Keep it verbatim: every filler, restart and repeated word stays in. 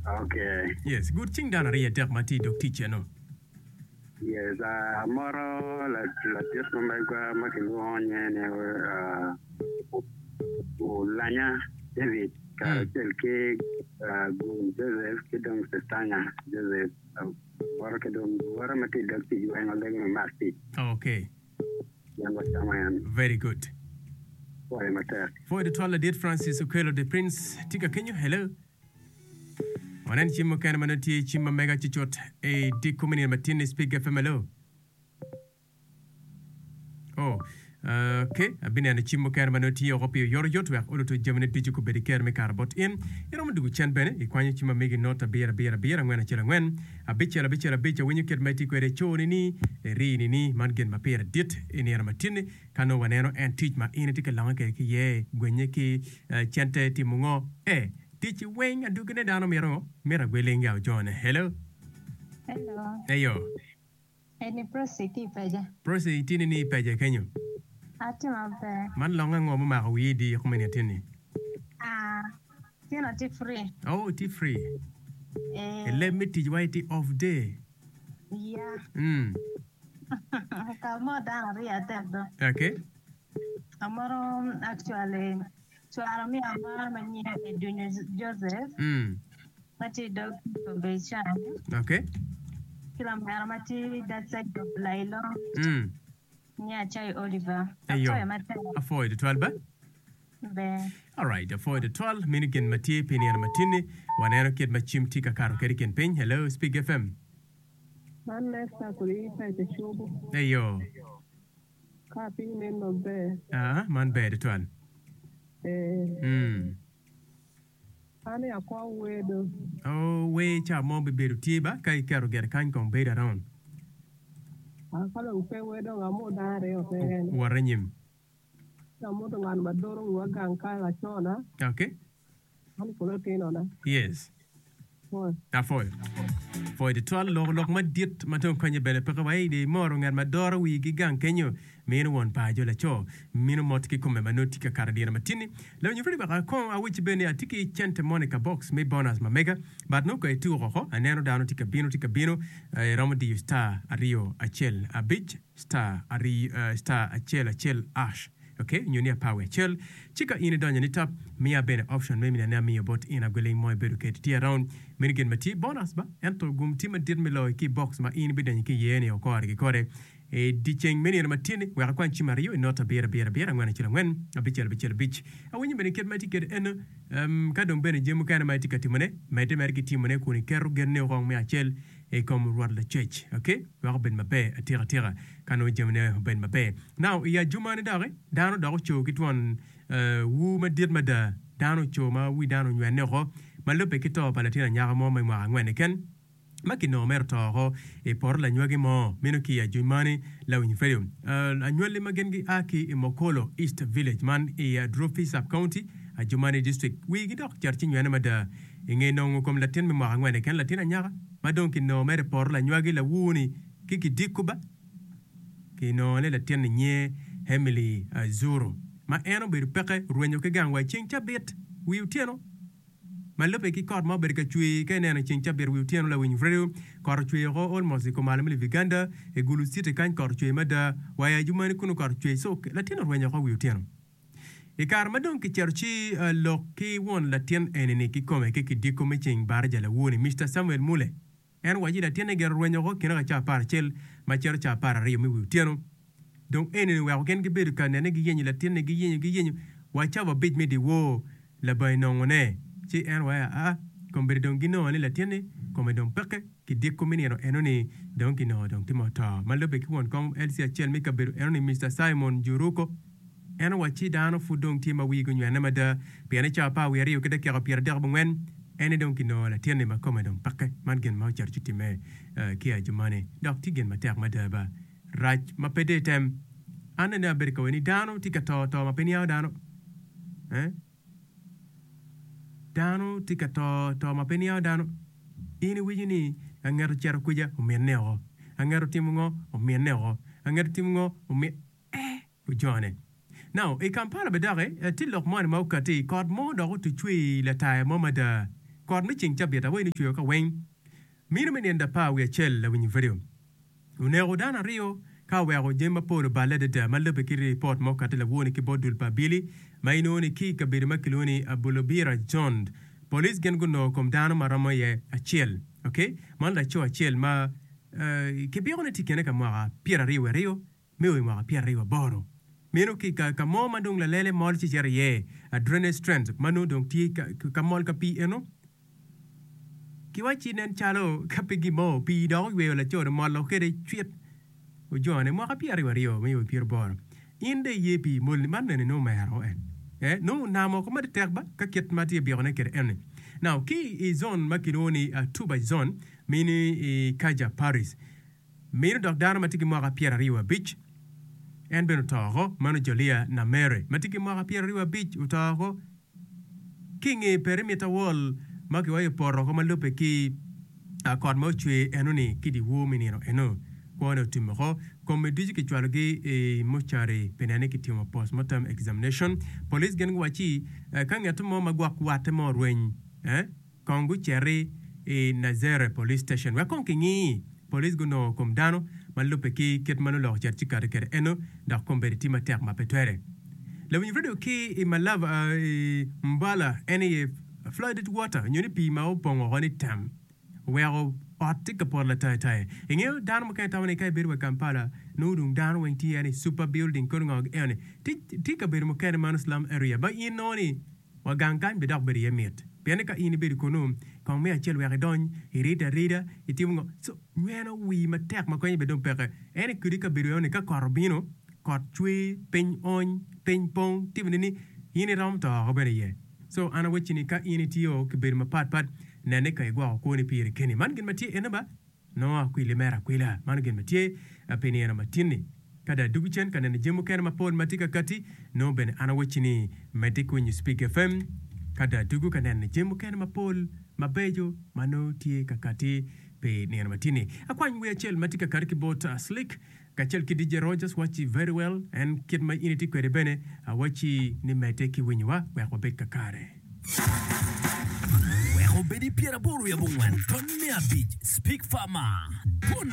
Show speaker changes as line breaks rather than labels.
Okay.
Yes, good cing dano aryo adek ma tye i dog tic eno.
Yes, uh, amoro ladit ma megwa ma kilwongo nyinge ni uh, Olanya David kacel ki uh, Gun Joseph ki dong Sestanya Joseph amoro ki dong luwote ma tye i dog tic weng olego ni mak tic.
Okay.
Gin wacamo en.
Very good.
Pwoyo matek.
Pwoyo tutwal ladit Francis Okello the Prince tye ka kenyo. Hello. Wanen cim mukene ma nongo tye cim ma mega cucut i diko me nino matin i Speak FM. Hello. Oh, ok, abineno cim mukene ma nongo tye oko pi oyotoyot wek oluto jamine ducu gubed ki kero me kato bot in. Iromo dugo cen bene ikwanyo cim ma megi not abiro abiro abiro angwen acel angwen abicel abicel abic awinyo kit ma itye kwede co-ni ni iri-ni ni man gin ma pire dit i nino matin-ni ka nongo waneno en tic ma in itye ka longe kwede ki iye gwenye ki cente timo ngo eh tic weng adwogine dano mito mito agweling ya ojone. Hello.
Hello.
Eyo.
Eni Prossy ki i Peja.
Prossy itye ni i Peja kenyo?
Atye maber.
Man long ango mumako wiyi i dye kome ni atin-ni?
Ah, tyen atye free.
Oh, itye free.
Eh.
I leb me tic wa itye off day.
Yeah.
Mm.
Ka mo dano aryo adek do.
Okay.
Amoro actually cwaro me amara ma nyinge Edunyo Joseph.
Mm.
Ma tye i dog Becan.
Okay.
Ki lamera ma tye that side of Lailo.
Mm.
Nyinge Acayo Oliver.
Eyo.
Apwoyo matek.
Apwoyo tutwal ba.
Ber.
Alright, apwoyo tutwal. Meno gin ma tye pi nino matinni. Waneno kit ma cim tye ka kato kwede i kin piny. Hello, Speak FM.
Man Lester kodi Peca Cobo.
Eyo.
Ka piny nen maber.
Ah, man ber tutwal.
Eh.
Mm.
An i akwa wedo.
Oh, wer ca mo bibedo tye ba ka iketo gire kany kong bedo around.
Ah, ka dong pe wer dong amot dano aryo keken.
Wot anyim.
Ci amoto ngat ma doro wiwa gang kany lacona.
Okay.
An kono atinona.
Yes.
Pwoyo.
Apwoyo. Pwoyo tutwal loko lok madit ma dong konye bene peke wa i moro ngat ma doro wigi gang kenyo mino won paco laco mino mot ki kome ma nongo tye ka kato dyere matinni. Lawiny Fred wek akong awecci bene ni atye ki cente moni ka box me bonus ma mega but nongo ka ituko oko aneno dano tye ka bino tye ka bino iromo diyo star aryo acel abic star aryo star acel acel ash ok nyo ni apar wiye acel ci ka in idonyo ni tap miya bene option me mine ne amiyo bot in agweling mo ibedo kedi tye around meno gin ma tye bonus ba ento gum tye madit me loyo ki box ma in ibidonyo ki iye ni okore ki kore i dyeceng me nino matin-ni wek akwany cim aryo i not abiro abiro abiro angwen acel angwen abicel abicel abic awinyo bene kit ma itye kwede eno um, ka dong bene jami mukene ma itye ka timone medde mere ki timone kun iketo genni okong me acel i kom Rwot Lacwec ok wek obed maber atika tika ka nongo jamine obed maber. Now i ajumani doki dano dok oco ki twon wuu madit mada dano oco ma wi dano onywene oko ma lubbe ki to pa latin anyaka mo ma i mwaka angwen keken ma kinongo mere oto oko i poto lanywagi mo meno ki i ajumani lawiny radio anywali ma gin gia ki i Mokolo East Village man i Adrofi Sub County Adjumani District wigi dok cito ci nywene mada i nge nongo kom latin me mwaka angwen keken latin anyaka ma dong kinongo mere i poto lanywagi lawur-ni ki kidiko ba kinongo ni latin-ni nyinge Emily Zuru ma en obedo peke orwenyo ki gang wa i ceng cabit wi otyeno ma lubbe ki kot ma obedo ka cwer ka ineno i ceng cabit wi otyeno lawiny radio kot ocwer oko almost i kumalo me Uganda i Gulu city kany kot ocwer mada wa i Adjumani kunu kot ocwer so latin orwenyo oko wi otyeno. I kare ma dong kicito ci lok ki won latin eni-ni kikome ki kidiko me ceng baraja lawor-ni, Mister Samuel Mule, en owaco ni latinne gire orwenyo woko kine ka ca apar acel ma cito ca apar aryo me wi otyeno. Dong eni-ni oweko gin gibedo ka nene giyenyo latinne, giyenyo, giyenyo wa cawa abic me dyewor labongo nongone. Ci en owaco aa, kombeddi dong ginongo ni latinni kome dong peke. Kidiko me nino eno-ni dong kinongo dong tye ma oto. Ma lubbe ki won kom LC acel me kabedo eno-ni, Mister Simon Juruko, En owacci dano pud dong tye ma wigi onywene mada pien i cawa apar wiye aryo ki dakika pyeradek abongwen en aye dong kinongo latinni ma kome dong peke. Man gin ma ocito ci timme ki Adjumani dok tye gin matek mada ba. Rac ma pe dong item. An nene abedo ka winyo ni dano tye ka to to ma pe niango dano. Eh? Dano tye ka to to ma pe niango dano. In iwinyo ni anget ocito kuca ominne oko. Anget otimo ngo ominne oko. Anget otimo ngo ominne. Eh! Ojone. Now, i Kampala bene doki, tye lok moni ma okatti, kot mo dok otucwe i lataya mo mada Kot me ceng cabit awaci ni ocweyo ka weng. Mino me nino apar wiye acel lawiny radio oneko dano aryo ka oweko jami mapol oballe adada ma lubbe ki ripot ma okati lawor-ni ki bot dul pa abili ma inongo ni ki i kabedo ma kilwongo ni Abulobira Zone. Police gin gunongo kom dano ma romo iye acel. Okay, man laco acel ma kibiko ni tye i kine ka mwaka pyeraryo wiye aryo me o i mwaka pyeraryo aboro. Meno ki ka mo ma dong lalele mol ci cito iye, drainage trend ma nongo dong tye ka mol ka pii eno. Kiwacci nen calo ka pe gin mo pii dok oyweyo laco-ni omolo kwede cwit ojone mwaka pyeraryo aryo me o i pyeraboro. In dong iye pii molni man bene nongo omero en eh nongo onamo woko matek ba ka kit ma tye byekone kwede eno-ni. Now ki i zone ma kilwongo ni Tuba zone mini i Kaja Paris mino dok dano ma tye ki mwaka pyeraryo abic en bene oto oko meno Jolia Namere ma tye ki mwaka pyeraryo abic oto oko. Ki i nge perimeter wall ma kiwaco poto woko ma lubbe ki kot ma ocwer eno-ni ki dyewor me nino eno, kwone otum woko. Kome ducu kicwalogi i mortuary pi neno ni kitimo post-mortem examination. Police gin guwacci ka ngat mo ma gwok watte mo orweny, kong guciti i Nazere Police Station wek kong kingi. Police gunongo kom dano ma lubbe ki kit ma nongo lok ocito ci kati kwede eno dok kombeddi tye matek ma pe twere. Lawiny radio ki i Malava i Mbala en aye flooded water nyo ni pii ma opong woko ni tam oweko ot tye ka poto lataitai. Ingeyo dano mukene tamo ni ka ibedo wa i Kampala nongo dong dano weng tye ni super building kono ngo eno ni tye kabedo mukene mano slum area ma in nongo ni Wa gang kany bidok bedo iye mit, pien ni ka in ibedo kunnu, kong me acel wek idony, iridde arida, itimo ngo, co nyweno wii matek ma konye bene dong peke. En i kodi kabedo eno ni ka kot obino, kot cwer, piny ony, piny pong, timo ni ni in iromo to oko bene iye. Co an awacci ni ka in itiyo kibedo mapat pat, nen ni ka igwoko kwoni piri keni. Man gin ma tye ene ba. Nongo akwili mere akwila. Mano gin ma tye pi nino matin-ni. Ka dong adwogo cen ka neno jami mukene mapol ma tye ka katti, nongo bene an awacci ni medde ki winyo Speak FM. Ka dong adwogo ka neno jami mukene mapol mabeco ma nongo tye ka katti pi nino matin-ni. Akwany wer acel ma tye ka katti ki bot Slick kacel ki D J Rogers wacci Very Well. En kit ma in itye kwede bene awacci ni medde ki winyowa wek wabed kakare.
Wek obed i pyeraboro wiye abongwen ton me abic Speak Farmer. Dwon